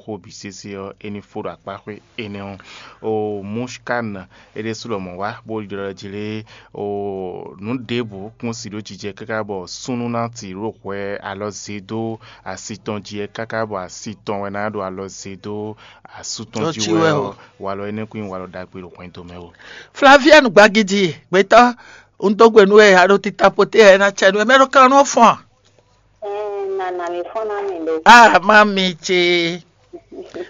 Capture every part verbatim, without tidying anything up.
xó bǐ sésé ɔ́, é ní fó ɖo akpáxwé énɛ́ ɔ́. O Mushkan é ɖésú lɔmɔ̌ wá bó ɖiɖɔ ɖɔ jlé o nǔ ɖěbǔ kún si ɖó jijɛ káká bɔ súnnu ná ti ɖo hwɛ alɔ zé dó asi tɔn jí wɛ káká bɔ asi tɔn wɛ ná ɖo alɔ zé dó asú tɔn jí wɛ ɔ́, walɔ énɛ́ kún nyí walɔ ɖagbe ɖo hwɛndo mɛ o. Flavienne Gbagidi, gbɛtɔ́, un dó gbe nú we, a ɖo tita poté, ɛ ná cɛ nú we, mɛ ɖo kan nú fɔn. Ɛɛ, nana mi fɔn ná mi ɖo. Ah, mami ce,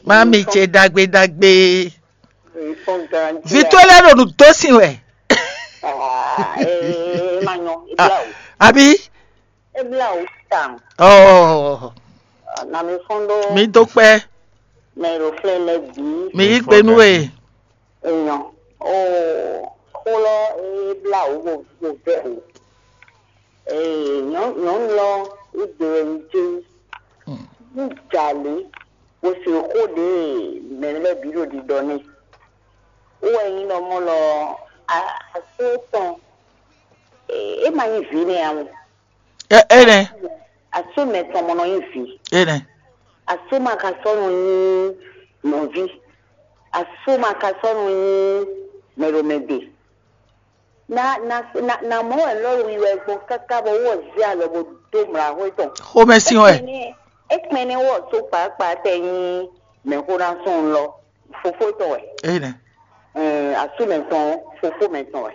mami ce, dagbe dagbe. Mi fɔn gan. Vi tó lɛ́ ɖo nǔ dó sin wɛ. Ah, ee, ma nyɔ, e bla o. Àbí? E bla o tan. Ɔɔ. Na mi fɔn ɖo. Mi dó kpɛ. Mɛ ɖo flɛ lɛ bǐ. Mi yí gbe nú we. Èèyàn, ó xó lɔ é blá wǔ bó bó vɛ́ wǔ. Ee, nyɔ̌nu lɔ é gbe wɛ yi jé ní jalě bó se xó ɖě mɛ lɛ́ɛ bǐ ɖo ɖiɖɔ n'i. Wú wɛ nyí ɖɔ mɔ̌ lɔ asú tɔn é ma nyí vǐ nɛ́ ǎ mɔ. Ɛ é nɛ́. Asú mɛ tɔn mɔ nɔ nyí vǐ. É nɛ́. Asú ma ka sɔ́ nɔ nyí nɔví. Asú ma ka sɔ́ nɔ nyí mɛɖomɛɖe. Na na na na mɔ wɛ lɔ wi wɛ gbɔn káká bɔ wɔ zé alɔ bó dó mla xwé tɔn. Xomɛ sin wɛ. Ekpɛnɛ wɔ so kpakpa tɛ nyi mɛxó ná sɔn lɔ fofó tɔn wɛ. Eyi nɛ. Ɛɛ, asú mɛ tɔn fofó mɛ tɔn wɛ.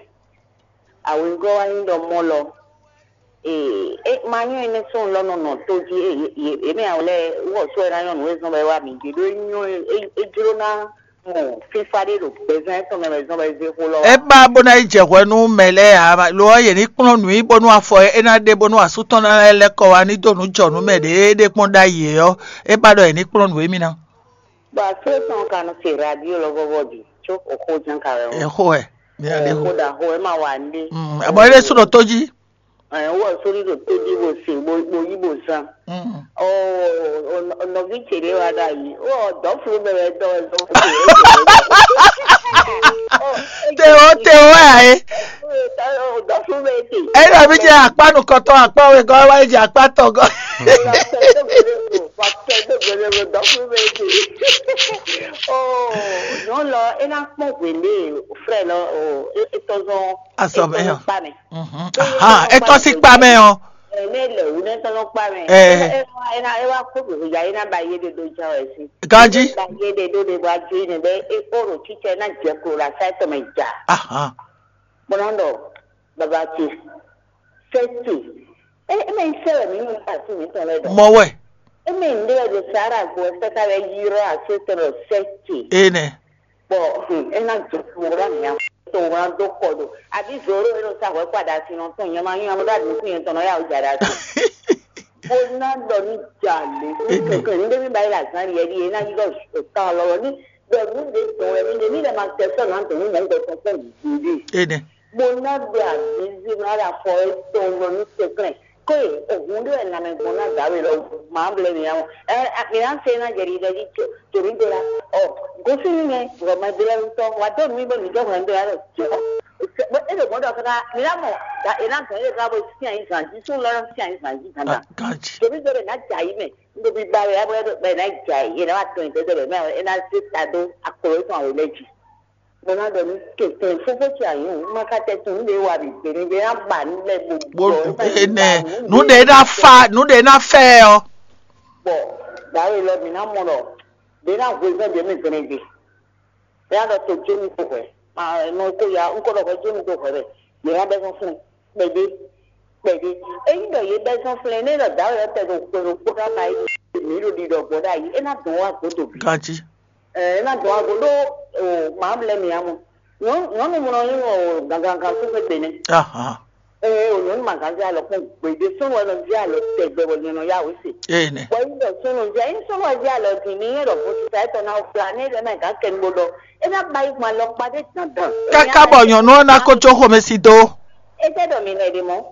Awǐgɔ́ wá nyí ɖɔ mɔ lɔ. Ee, é ma nyɔ́ énɛ́ sɔn lɔ nɔ nɔ tó jí. Yě mɛ awlɛ wɔ sɔ ɛ ná nyɔ́ nǔ e zɔn bɔ é wá mǐ gbe ɖó é nyɔ́ é jló ná mɔ fífá ɖé ɖo gbɛzán tɔn mɛ wɛ zɔn bɔ é zé xó lɔ wá. É ba bó ná yi jɛ hwɛ nú mɛ lɛ́ɛ ǎ, lo ɔ́, yě ní kplɔ́n nǔ i bónú afɔ e é ná ɖe bónú asú tɔn ná lɛ́ kɔ wá ní dó nǔ jɔ nú mɛ ɖě é ɖe kpɔ́n ɖ'ayǐ é ɔ́, é ba ɖɔ yě ní kplɔ́n nǔ émí ná. Bɔ asú tɔn ka nɔ se radio lɔ vɔvɔ di, có oxó ján ka wɛ. Exó wɛ, mi ná ɖe xó. Xó ɖaxó wɛ ma wa nɖé. Àmọ́ é ɖésú ɖo tó jí. Ɛ, wɔ sórí ɖo tó jí bó se bó bó yí bó zán. Ɔ, ɔ, nɔví ce ɖé wá ɖ'ayǐ. Ɔ, dɔ̌flú mɛ wɛ dɔ wɛ dɔ. Te o te o wɛ ayi. Dɔ̌flú mɛ te. Eyi na mi jɛ akpa nukɔtɔ akpa wɛ gɔ wa jɛ akpa tɔ gɔ. Dɔ̌flú mɛ te. Ɔ, nyɔnu lɔ é ná kpɔn hwěɖé frɛ lɔ, ɔ, é tɔzɔn. Asɔ mɛ yɔ. Kpa mɛ. Ahan, etɔ́ sí kpa mɛ ɔ. Ɛnɛ lɛ wu ne tɔn kpa mɛ. Ɛɛ. Ena ena kó gbèsè ya ena ba yé de do ja wɛ si. Ganji. Ba yé de do de ba ju ne bɛ e kó ro titsɛ na jɛ kó la sa tɔ mɛ ja. Ahan. Bɔnɔ dɔ baba ti sɛ ti. E e mɛ sɛ wɛ mi mu ba ti mi tɔn lɛ dɔ. Mɔ wɛ. E mɛ n de wɛ do sara gbɔ sɛ ka wɛ yi rɔ a se tɔ lɔ sɛ ti. Enɛ. Bɔ é ná jɛ kpo wá mǐa tó wá dó kɔ ɖo abǐ zǒ ɖo é nɔ sa hwɛ̌ kpa ɖa asi nɔ tɔn nyɛ ma nyí amɔ ɖo aɖǔkún nyɛ tɔn nɔ yá wǔ ja ɖa asi. Bó ná ɖɔ ní ja lě ní kɛkɛ ní ɖémí ba yi le azán ɖiɛ ɖi é ná yi ɖɔ kan lɔlɔ ní ɖɔ nǔ ɖé tɔn wɛ ní ɖe ní lɛ ma tɛ sɔ́ nǎ tɔn ní mɔ̌ gbɔ tɔn kpɔ́n gbeɖé. Enɛ. Bó ná ɖo abǐ zí ná ɖo afɔ é tɔn lɔ ní kɛkɛ. Kóe òhun ɖé wɛ lanmɛ gbɔn ná dǎwe lɔ má blɛ́ mǐ ǎ. Ɛ mǐ ná se ná jɛ ɖiɖɔ jí tòmí do la. Ɔ gosín nú mɛ vɔ mɛ do la ŋutɔ wà dó nǔ mì bɔ mǐ dó hwɛ̌n do la lɔ jɔ. É ɖo mɔ̌ ɖɔ káká mǐ ná mɔ è ná gɔn é ɖe ká bó sín ayǐ zǎn jí sún lɔ sín ayǐ zǎn jí dandan. Tòmí do ɖe ná jà yí mɛ nítorí bá wɛ bɛ ná jà yí é ná wà tɔn ìdẹ́dẹ́ bɛ mɛ é ná zé ta dó akplɔ é tɔn àwòlẹ́ jí. Mo ná ɖɔ ní kɛntɛn fúnfún ce àyìn òun má ká tɛ tún ní wa bì gbé ní bɛ ná bà ní lɛ gbogbo. Bó ene nú ɖe ná fa nú ɖe ná fɛ ɔ. Bɔ dǎwe lɔ mǐ ná mɔ ɖɔ ɖe ná hwezɔ́n ɖě mɛ gbɛnɛgbè. Bɛ ná ɖɔ to jómi tó hwɛ ma nɔ kó ya ń kó ɖɔ hwɛ jómi tó hwɛ bɛ yě ná bɛ fún fún kpɛdé kpɛdé. Ényí ɖɔ yě bɛ fún fún nɛ ɖɔ dǎwe lɔ tɛ ɖo kpɛɖokpó ná ma yí mǐ ɖo ɖiɖɔ gbɔ ɖ'ayǐ é ná dɔn wá gbɔdɔ bǐ. Ganji. Ɛ ena dɔn ago ɖó o mǎ lɛ́ɛ mǐ ǎ mɔ. Nyɔ̌nu mɔ nɔ nyí o gangan súnfé gbe nɛ́. Ee o nyɔ̌nu ma gán zé alɔ kpɔ́n gbědé súnnu wɛ nɔ zé alɔ tɛgbɛ bɔ nyɛ nɔ yá wě se. Ee nɛ. Bɔ yí ɖɔ súnnu zé yín súnnu wɛ zé alɔ din mi yín ɖɔ vodisa étɔn ná fla ní é ɖɔ mɛ gǎn kɛnugbo ɖɔ é ná ba yí gbɔn alɔkpa ɖé dandan. Káká bɔ nyɔ̌nu ɔ́ ná kó jó xomɛ sí dó. É tẹ́ ɖɔ mi nɔ è ɖe mɔ̌.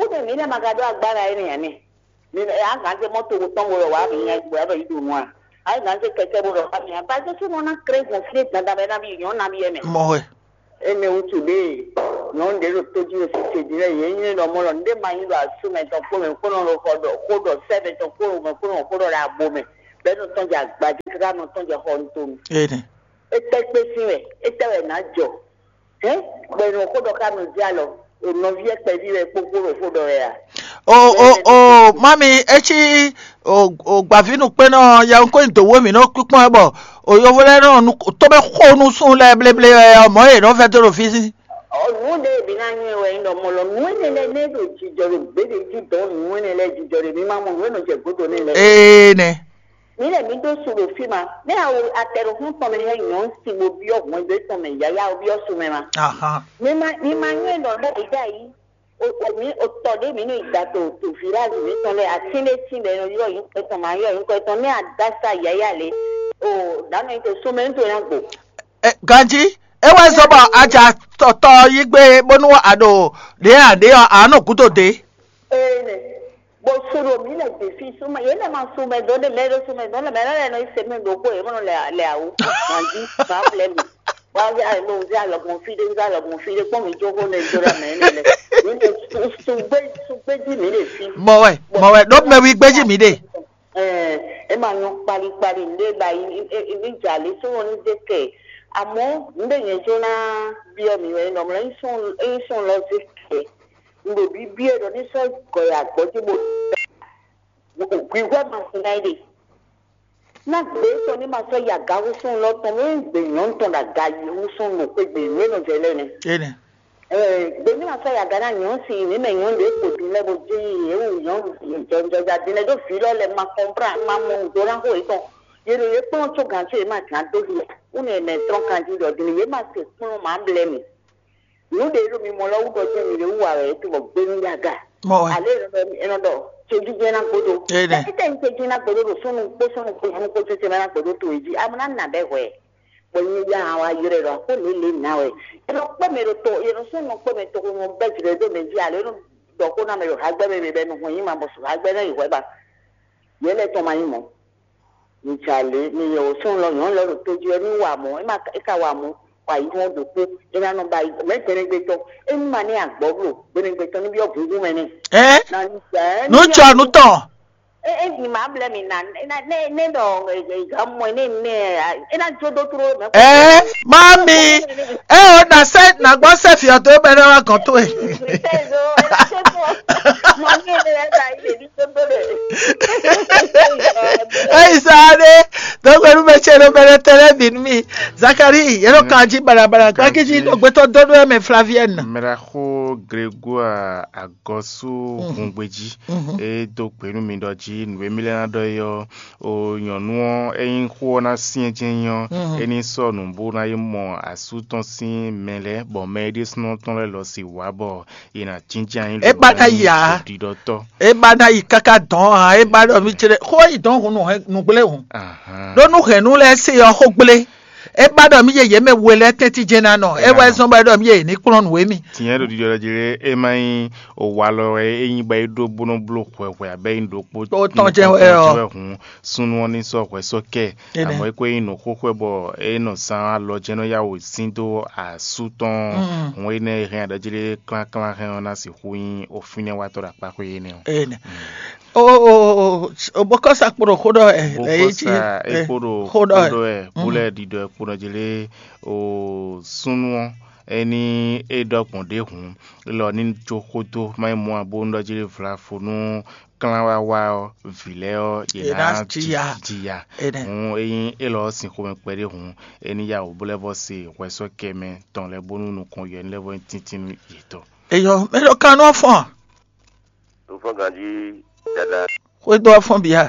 Kúdè mǐ lɛ́ ma ka ɖó agbára énɛ́ ǎ nɛ́. Mi a gǎn zé mɔ́ togo tɔn bo ɖɔ wǎ mi nya bɔ yǎ ɖɔ yí ɖo nu a? A yí gǎn zé kɛkɛ́ bo ɖɔ wǎ mi nya? Ba Jezu nɔ ná kré gbɔn fí e dandan bɛ ná bí nyɔ̌ ná bí yɛ mɛ. Mɔ wɛ. Énɛ́ wútu ɖě nyɔ̌nu ɖě ɖo tójí ɖo sise din lɛ́ɛ yě nyí ɖɔ mɔ ɖɔ nǔɖé ma nyí ɖo asú mɛ tɔn kpó mɛ kpó nɔ ɖo xɔ ɖɔ xó ɖɔ sɛ́ mɛ tɔn kpó mɛ kpó nɔ xó ɖɔ ɖo abo mɛ. Bɛ́ nɔ tɔn jɛ agbadé káká nɔ tɔn jɛ xɔ nutonu. Ene. Étɛ́ kpé sín wɛ, étɛ́ wɛ nǎ jɔ. Hɛn, bɔ è nɔ xó ɖɔ ká nɔ zé alɔ, ɖo nɔví ɛ kpɛví wɛ kpókpó ɖo xó ɖɔ wɛ a? O o o mami, etsi o o gbaví nukpénɔ yawun kó nyi dǒ wé mǐ nɔ kpíkpɔ́n ɛ bɔ o yovo lɛ́ɛ nɔ nu tɔ́ mɛ xo nú súnnu lɛ́ɛ bléblé wɛ ɔ́, mɔ̌ yě nɔ vɛ́ dó ɖo fí sí. Ɔ, nǔ ɖé e mǐ ná nyí wɛ nyí ɖɔ mɔ lɔ nǔ énɛ́ lɛ́ɛ nɛ́ ɖo jijɔ ɖo gběɖe jí dɔn nǔ énɛ́ lɛ́ɛ jijɔ ɖe mǐ ma mɔ nǔ e nɔ jɛ gǒdo nɛ́ lɛ́ɛ. Ee nɛ. Mǐ lɛ́ mǐ ɖó su ɖo fí ma. Nɛ́ awo atɛ ɖo xún tɔn mɛ hɛn nyɔ̌nu sin bó byɔ́ hwɛndo étɔn mɛ yǎyá bó byɔ́ su mɛ ma. Ahan. Mi ma mi ma nyɔ́ ɖɔ ɖɔ ɖě ɖ'ayǐ. O o mǐ o tɔ ɖé mǐ nɔ yi da to to village mǐtɔn lɛ́ɛ atín ɖé tín bɔ è nɔ ylɔ́ nyǐkɔ tɔn ma ylɔ́ nyǐkɔ tɔn nɛ́ a dó asá yǎyá lě. O ɖǎnɔ yi to súnmɛ nítorí ná gbo. Ɛ, ganjí, é wɛ zɔ́n bɔ a ja tɔtɔ yí gbé bónú a ɖo ɖě a ɖě ɔ́, a nɔ gúdo dě. Ee nɛ. Bó sú ɖo mǐ lɛ gbe fí súnmɛ yě lɛ ma súnmɛ dɔn ɖé mɛ ɖó súnmɛ dɔn lɛ mɛ lɛ nɔ yi se mɛ ɖokpó yě mɔ lɛ lɛ awu. Ganjí ma blɛ mi. Wa vɛ ayi mo vɛ alɔgbɔn fí ɖé vɛ alɔgbɔn fí ɖé kpɔn mi jó xó nɛ jó ɖa mɛ nɛ lɛ. Mǐ lɛ sugbé sugbé jí mǐ lɛ fí. Mɔ wɛ, mɔ wɛ, ɖó mɛ wí gbé jí mǐ ɖe. Ɛɛ, e ma nyɔ kpalikpali nɖe ba yi ni e ni dza le so wɔn ni de kɛ. Amɔ nɖe nyɛ jo na biɔ mi wɛ nɔ mlɔ yi sɔn yi sɔn lɔ ze kɛ. Nɖo bibiɛ ɖɔ ni sɔ gɔ ya gbɔ ji bo. Hwihwɛ ma si na yi de. Na gbe tɔ ni ma sɔ yi aga wusun lɔ tɔn mi gbe nyɔnu tɔn ɖo aga yi wusun nɔ kpe gbe nue nɔ zɛ lɛ nɛ. Ene. Gbe ní ma sɔ́ yi aga ná nyɔ̌nu sin ní mɛ nyɔ̌nu ɖě kpo din lɛ́ɛ bó jɛ yi yě wú nyɔ̌nu jɔjɔja din lɛ́ɛ ɖó vǐ lɔ lɛ ma kɔnplán ma mɔ nǔ dó ná xó yětɔn. Yě ɖo yě kplɔ́n có gǎn có yě ma gǎn dó hi ǎ. Wú nɛ mɛ trɔ́n kanjí ɖɔ din yě ma se kplɔ́n ma blɛ́ mì. Nǔ ɖě ɖo mi mɔ lɔ wú ɖɔ jẹ́ mi ɖě wú wa wɛ é to bɔ gbé nú yá ga. Mɔ wɛ. Ale è nɔ ɖɔ céjijɛ ná gbódó. Étɛ́ ní céjijɛ ná gbódó ɖo súnnu kpó súnnu kpó súnnu kpó céjijɛ ná gbódó to yě jí. Amúná nà bɛ hwɛ. Bɔ nyɛ ya hã wá ylɔ́ ɛ ɖɔ xó lě lě ná wɛ. È nɔ kpé mɛ ɖo to, è nɔ sɔ́ nɔ kpé mɛ toxo nɔ bɛ́ jlɛ dó mɛ jí alo é nɔ ɖɔ xó ná mɛ ɖo hagbɛ́ mɛ mɛ bɔ è nɔ hɔn yí ma bɔ sɔ hagbɛ́ ná yi hwɛ̌ ba. Yě lɛ́ tɔn ma nyí mɔ̌. Mi jà lě, mi yɛ wǒ sɔ́ lɔ nyɔ̌nu lɛ́ɛ ɖo tó jí wɛ ní wa mɔ̌, é ma é ka wa mɔ̌, wa yi hɔn ɖokpó, é ná nɔ ba yi mɛ tɛnɛgbé tɔn. É ní ma ní agbɔ̌ bló, gbɛnɛgbé tɔn ní byɔ́ gǔngún mɛ nɛ. Ɛ? Nǔ jɔ nǔ tɔn. E e nyi ma blɛ mi na ne ne ne ɖɔ ga mɔ ne ne e na jo do tro mɛ. Ɛɛ, mami, ɛ o na sɛ na gbɔ sɛ fi ɔtɔ ebe ne wa gɔn to e. Eyi sa ɖe dɔgbɛnu bɛ tse ɖo bɛ tɛ lɛ bi mi. Zakari yɛrɛ kan ji balabala gbaki ji dɔgbɛtɔ dɔdɔ mɛ Flavienne. Mraxo Grégoire Agɔsu Hungbeji. E dó gbe nú mi ɖɔ jí nǔ e mì lɛ́ ná ɖɔ é ɔ́, o nyɔ̌nu ɔ́, ényí xó ɔ́ ná syɛ́n jɛ́n nyí ɔ́, é ní sɔ́ nǔ bó ná yi mɔ asú tɔn sín mɛ lɛ́ɛ, bɔ mɛ e ɖésúnɔ tɔn lɛ́ɛ lɔ sixú wá bɔ è nǎ jínjɔ́n ayǐ. É ba ná yi ǎ. Ɖiɖɔtɔ́. É ba ná yi káká dɔn ǎ, é ba ɖɔ mì céɖé xó yi dɔn hun nǔ gblé hǔn. Ɖó nú hɛ̌nnu lɛ́ɛ se ɔ́ xó gblé. É ba ɖɔ mì yeyě mɛ we lɛ́ɛ tɛ́ntin jɛ́n ná nɔ, é wɛ zɔ́n bɔ é ɖɔ mì yeyě ní kplɔ́n nǔ émí. Tinyɛn ɖo ɖiɖɔ jí lé, é má nyí owalɔ wɛ é nyí bɔ é ɖó bó nɔ́ bló hwɛhwɛ abɛ é nyí ɖokpó Tó tɔn jɛ́n wɛ ɔ́. Hǔn súnnu ɔ́ ní sɔ́ hwɛ sɔ́ kɛ. Amɔ̌ é ko nyí nǔ xóxó bɔ é nɔ zán alɔ jɛ́n nɔ yá wǒ sín dó asú tɔn. Hǔn énɛ́ e hɛn aɖɔjí lé klánklán hɛn ɔ́ ná sixú nyí ofínɛ́watɔ́ ɖo akpáxwé énɛ́ ɔ́. Ene. O o o o bɔkɔsa kpo ɖo xó ɖɔ ɛ ɛ yi ci Bokɔsa ɛ ekpo ɖo xó ɖɔ ɛ. Xó ɖɔ ɛ bó lɛ ɖiɖɔ ɛ kpo nɔ jí lé o súnnu ɔ́, é ní é ɖɔ gbɔn ɖě hǔn, lɔ ní jó xódó má yi mɔ abo nú ɖɔ jí lé vlafo nú klán wá wá ɔ́, vǐ lɛ́ɛ ɔ́ yě Yě ná ná jiya. Jiya. Ene. Hǔn é nyí élɔ́ ɔ́ sin xomɛ kpɛɖé hǔn, é ní yá wǒ bó lɛ́ vɔ́ se hwɛsɔ́kɛ mɛ tɔn lɛ́ɛ bónú nukɔn yɔ ní lɛ́ vɔ́ nyí tíntín nú yětɔn. Eyɔ, mɛ ɖɔ kan nú ɔ́ fɔ́n a? Nufɔ́n ganjí dada Xwedó ɔ́ fɔ́n bǐ a?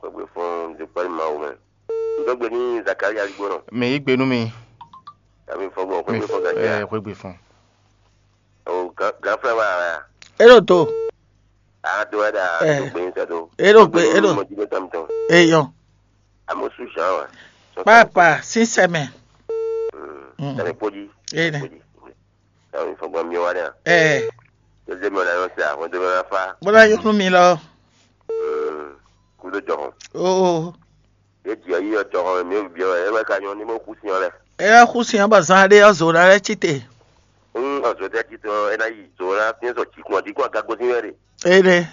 Xwegbe fɔ́n ɖo kpɛ́ Mawu mɛ. Un dó gbe ní Zakaria gbónɔ. Mɛ yí gbe nú mi. Tàbí fɔ́n gbɔn xwegbe fɔ́n ganjí a? Ɛ, xwegbe fɔ́n. O gánflá wa a? É ɖo do. A do wɛ ɖa Ɛ. Do gbe ní sɛ do. É ɖo gbe, é ɖo. Mɔ jí bɛ tɔn tɔn. Eyɔ. Amosu Jean wa. Papa, sísɛmɛ. Mm. Tàbí kpódí. É nɛ. Kpódí. Tàbí fɔ́n gbɔn mi wa dɛ. Ɛ. Tó dé mi ɔ̀la yɔ sí àwọn tó bá fa. Bó bá yọ nú mi lọ. Kúdó jọ̀hún. Oo. Yé jì ayé ọjọ́ kan mi ò bí ọ ẹ wá ka yan ní mo kú sí ọ lẹ. Ẹ wá kú sí ọ bá zan adé ọ zò rẹ títè. Ń ọ̀sọ̀ tẹ́ títọ́ ẹ náà yìí zò rẹ fi ń sọ jìkún ọ̀dínkù àgàgbọ́ sí rẹ̀. Ẹ dẹ.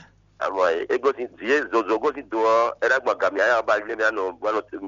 Amɔ e gosín dǐ e zozo gosín do ɔ́, é ná gbɔn gǎn mǐ aya ba lé mǐ anɔ bɔ nɔ